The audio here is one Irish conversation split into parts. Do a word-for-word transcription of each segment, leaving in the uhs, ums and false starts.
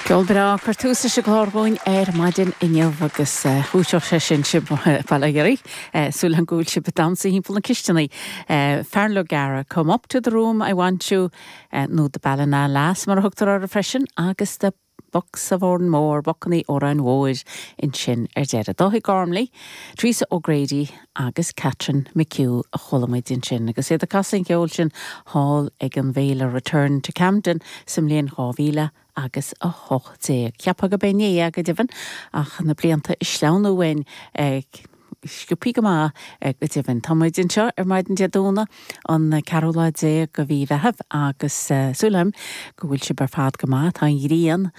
Ceol breá ag cur tús leis an gclár dúinn ar maidin inniu agus dhúiseodh sé sin sibh bail ó Dhia oraibh súil agam go bhfuil sibh ag damhsa timpeall na cisteanaí. Feargal O'Gara, come up to the room I want you nó the Ballina Lass mar a thugtar orthu freisin agus the Bucks of Oranmore, Bocannaí Óráin Mhóir ansin ar deireadh. Dáithí Gormley, Teresa O'Grady agus Catherine McHugh a chuala muid ansin, agus iad ag casadh an cheoil sin thall ag an bhféile Return to Camden sa mbliain dhá mhíle agus a hocht déag. Cheapfá gurb inné é go deimhin ach na blianta ag sleamhnú uainn sciobtha go maith go deimhin. Tá muid anseo ar maidin Dé Domhnaigh an ceathrú lá déag de mhí Mheithimh agus súil agam go bhfuil sibh ar fad go maith, tá an ghrian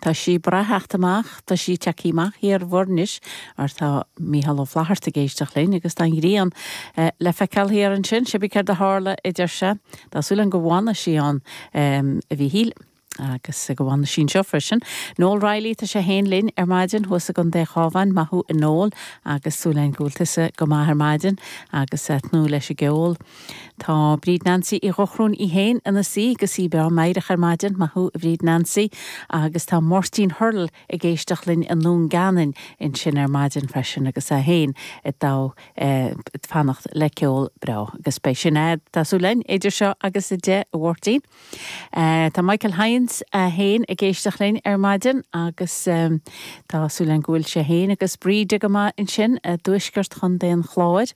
Tá sí breá ag teacht amach, tá sí tagtha amach thiar anois mar tá Mícheál Ó Flatharta ag éisteacht linn agus tá an ghrian le feiceáil thiar ansin, cibé céard a tharla idir se, Tá súil agam go bhfanfaidh sí ann a Mhíchíl. agus go bhfanfaidh sí anseo freisin. Noel Riley tá sé féin linn ar maidin thuas i gContae an Chabháin maith thú a Noel agus súil agam go bhfuil tusa go maith ar maidin agus tnúth leis an gceol. Tá Bríd Nancy Uí Dhochrún í féin ina suí agus í breá meidhreach ar maidin maith thú a Bhríd Nancy agus tá Máirtín Hurl ag éisteacht linn i nDún Geanainn ansin ar maidin freisin agus é féin ag ag fanacht le ceol breá agus beidh sin é tá súil againn idir seo agus a deich a Mháirtín. Uh, tá Michael Hines a féin ag éisteacht linn ar maidin agus um, tá súil agam go bhfuil sé féin agus Bríde go maith ansin i dtuaisceart Chontae an Chláir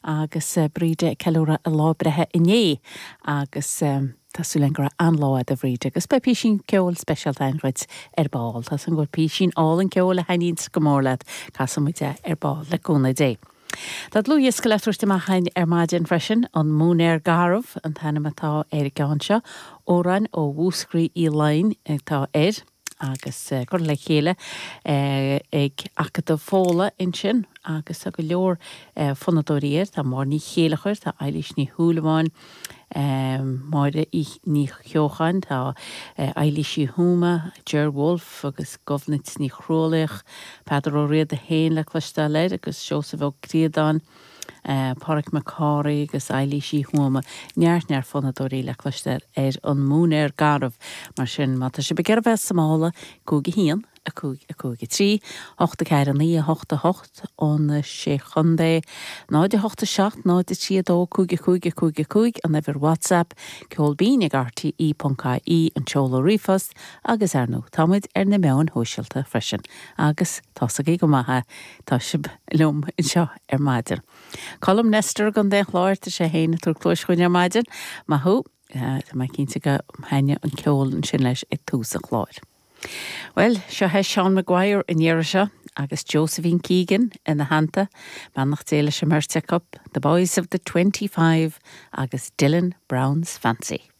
agus uh, Bríde ceiliúradh a lá breithe inné agus um, Tá súil agam go raibh an-lá ag Bríde agus beidh píosín ceoil speisialta againn dhuit ar ball. Tá an bhfuil píosín álainn ceoil a thaitníonn go mór leat casfaidh muid é ar ball le cúnamh Dé. Tá dlúthdhiosca le tabhairt amach againn ar maidin freisin an Móinéar Garbh an t-ainm atá ar an gceann seo, Amhráin ó Mhúscraí Uí Laighin atá air agus uh, curtha le chéile uh, ag Acadamh Fódhla ansin agus tá go leor uh, fonnadóirí air, tá Máire Ní Chéilleachair, tá Eilís Ní Shúilleabháin, um, Máire Ní Cheocháin, tá uh, Eilís Uí Thuama, Ger Wolfe agus Gobnait Ní Chrualaoich, Peadar Ó Riada féin le cloisteáil air agus Seosamh Ó Críodáin, Uh, Pádraig Mac Cárthaigh agus Eilís Uí Thuama neart neart fonnadóirí le cloisteáil ar an Móinéar Garbh mar sin má tá sibh ag iarraidh bheith sa mála cúig a haon a cúig a cúig a trí, hocht a ceathair a naoi a hocht a hocht ón sé chontae, náid a hocht a seacht náid a trí a dó cúig a cúig a cúig a cúig an uimhir WhatsApp, ceol binn ag RTE.ie an seoladh ríomhphost agus ar ndóigh táimid ar na meáin shóisialta freisin agus tá go maith tá sibh liom anseo ar maidin. Colm Nestor Contae an Chláir tá sé féin ag tabhairt cluas dúinn ar maidin, maith thú Tá mé cinnte gur thaitin an ceol ansin leis ag tús an chláir. Well, seo é Seán Maguire an iarraidh seo agus Josephine Keegan ina theannta, beannacht Dé leis an mbeirt acu, The Boys of the Twenty Five agus Dylan Brown's Fancy.